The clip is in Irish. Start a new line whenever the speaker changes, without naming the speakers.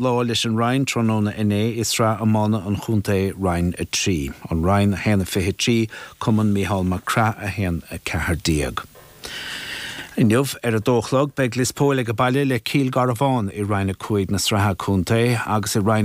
Lá leis an Rinn tráthnóna inné i Sraith Iomána an Chontae, Roinn 3. An Rinn 1-23, Cumann Mícheál Mac Craith 1-14. Inniu ar a dó a chlog beidh Lios Póil ag baile le Cill Garbháin i Roinn 5 na Sraithe Contae agus i Roinn.